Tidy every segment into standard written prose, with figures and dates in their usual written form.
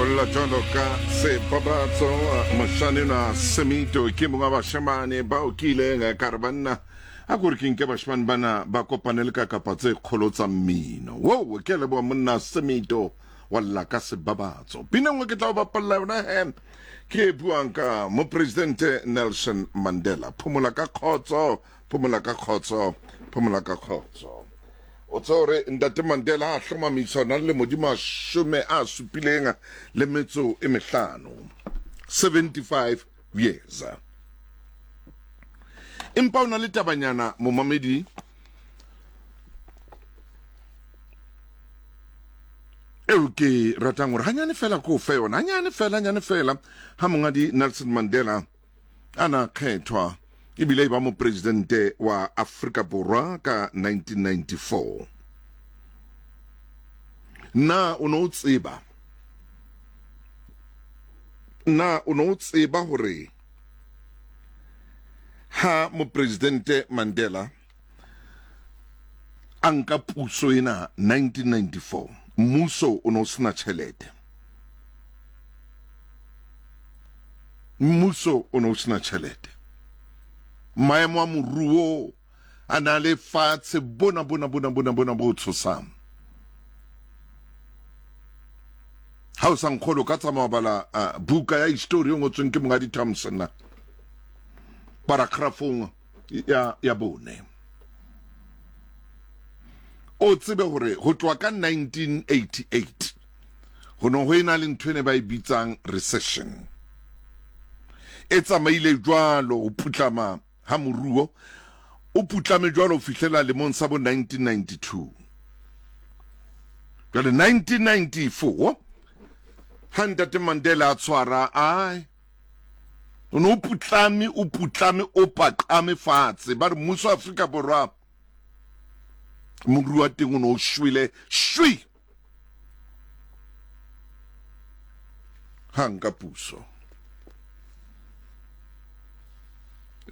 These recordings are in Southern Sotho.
O lla jwalo ka sebabatso moshane enwa Semito ke mongwe wa bashemane bao ke ileng ka re banna a kore ke nke bashemane bana ba kopane le ka kapa tse kgolo tsa mmino. Wo ke a leboha monna Semito wa lla ka sebabatso. Pina nngwe ke tla o bapalla yona he ke e buang ka mopresidente Nelson Mandela. Phomola ka kgotso, phomola ka kgotso, phomola ka kgotso. O tseba hore Ntate Mandela a hlomamiswa o na le lemo di 75, 75 years. Empa o na le tabanyana momamedi eo ke ratang hore hanyane fela ko fe yona, hanyane fela, hanyane fela, ha mongadi Nelson Mandela a na kgethwa ebile e ba mopresidente wa Afrika Borwa ka 1994. Na o ne o tseba? Na o ne o tseba hore ha mopresidente Mandela a nka puso ena 1994 mmuso o ne o sena tjhelete mmuso o ne o sena tjhelete maemo a moruo a na le fatshe bona bona bona bona bona bo tshosang ha o sa nkgolo ka tsamaya bala uh, buka ya histori e ngotsweng ke mongadi Thompson paragrafong ya, ya bone o tsebe hore ho tloha ka 1988 ho ne ho e-na le ntho e ne ba e bitsang recession e tsamaile jwalo ho putlama ha moruo o putlame jwalo ho fihlela lemong sa bo 1992 jwale 1994 ha ntate Mandela a tshwara ai O ne o putlame, o putlame, o paqame fatshe. Ba re mmuso wa Afrika Borwa, moruo wa teng o ne o shwele shwi. Ha nka puso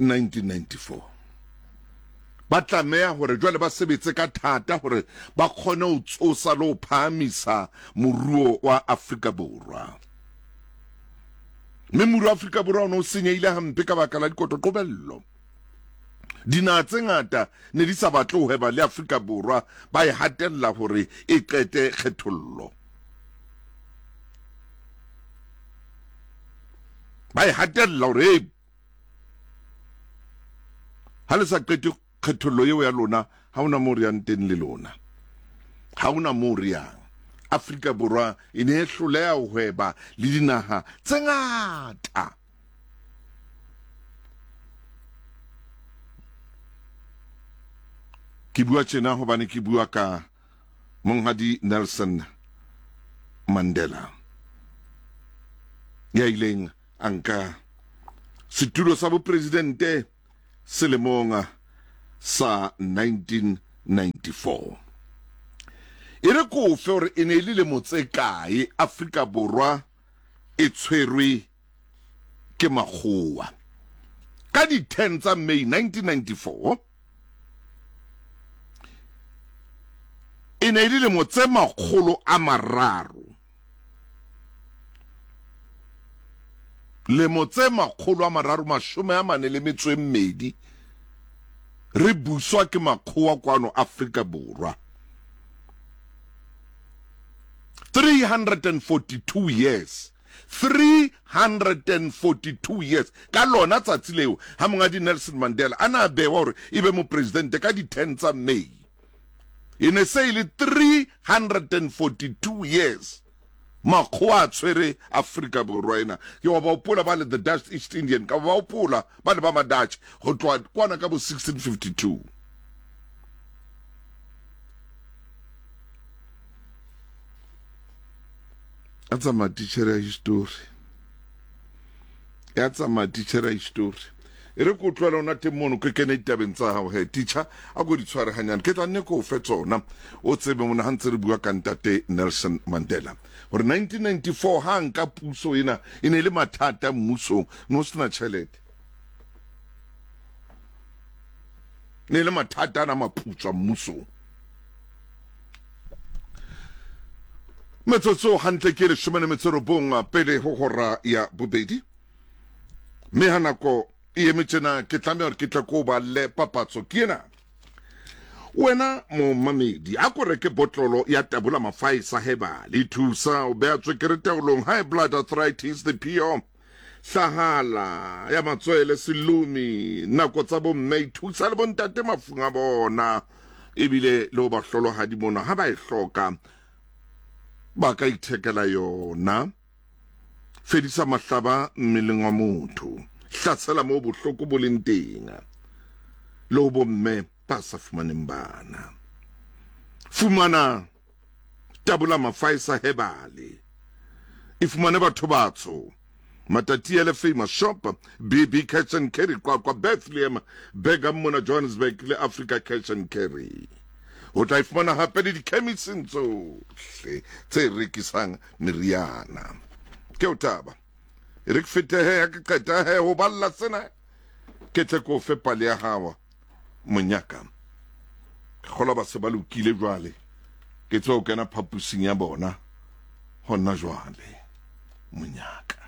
1994 ba tlameha hore jwale ba sebetse ka thata hore ba kgone ho tsosa le ho phahamisa moruo wa Afrika Borwa. Mme moruo wa Afrika Borwa o ne o senyehile hampe ka baka la dikotoqobello. Dinaha tse ngata ne di sa batle ho hweba le Afrika Borwa, ba e hatella hore e qete kgethollo. Ba e hatella hore hey, ha le sa qete Kgethollo eo ya lona, ha hona moo re yang teng le lona. Ha hona moo re yang. Afrika Borwa e ne e hloleha ho hweba le dinaha tse ngata. Ke bua tjena hobane ke bua ka Monghadi Nelson Mandela ya ileng a nka setulo sa bopresidente selemong sa 1994. E re ko fe hore e ne e le lemo tse kae Afrika Borwa e tshwerwe ke makgowa. Ka di 10 tsa May 1994 e ne e le lemo tse 300. Lemo tse 342 re buswa ke makgowa kwano Afrika Borwa. 342 years. 342 years. Ka lona tsatsi leo ha mongadi Nelson Mandela a na bewa hore e be mopresidente ka di 10 tsa May. E ne se e le 342 years makgowa a tshwere Afrika Borwa ena. Ke wa ba hopola ba le the Dutch East Indian, ka ba hopola ba le ba ma Dutch go tloha kwana ka bo 1652. A tsamaya tichere ya history. Ya tsamaya tichere ya history. E re ke o tlohele ona teng mono ke kene ditabeng tsa hao he teacher a ko di tshware hanyane ke tla nne ke o fe tsona o tsebe mona ha ntse re bua ka ntate Nelson Mandela gore 1994 ha nka puso ena e ne e le mathata mmusong ne o sena tjhelete ne e le mathata ana maputswa mmusong. Metsotso hantle ke 19 pele ho hora ya bobedi. Mme ha nako e eme tjena ke tlameha hore ke tle ko balle papatso ke ena. Wena momamedi, a ko reke botlolo ya Tabola Mafaesa Herbal. E thusa ho beha tswekere taolong, high blood arthritis, diphio, hlahala ya matswele, selumi, nako tsa bomme, e thusa le bontate mafung a bona, ebile le ho bahlolohadi mona ha ba e hloka ba ka ithekela yona. Fedisa mahlaba mmeleng wa motho, hlasela moo bohloko bo leng teng, le ho bomme ba sa fumaneng bana. Fumana Tabola Mafaesa Hebale. E fumane batho batsho. Matatiele Famous Shop, BB Cash and Carry Qwaqwa, Bethlehem, Bergam mona Johannesburg le Africa Cash and Carry. O tla e fumana hape le dikhemising tsohle tse rekisang meriana. Ke o taba. E re ke fete he, ha ke qeta he ho balla sena, ke tle ke o fe pale ya hao monyaka. Ke kgolwa ba se ba lokile jwale. Ke tswa ho kena phapusing ya bona hona jwale monyaka.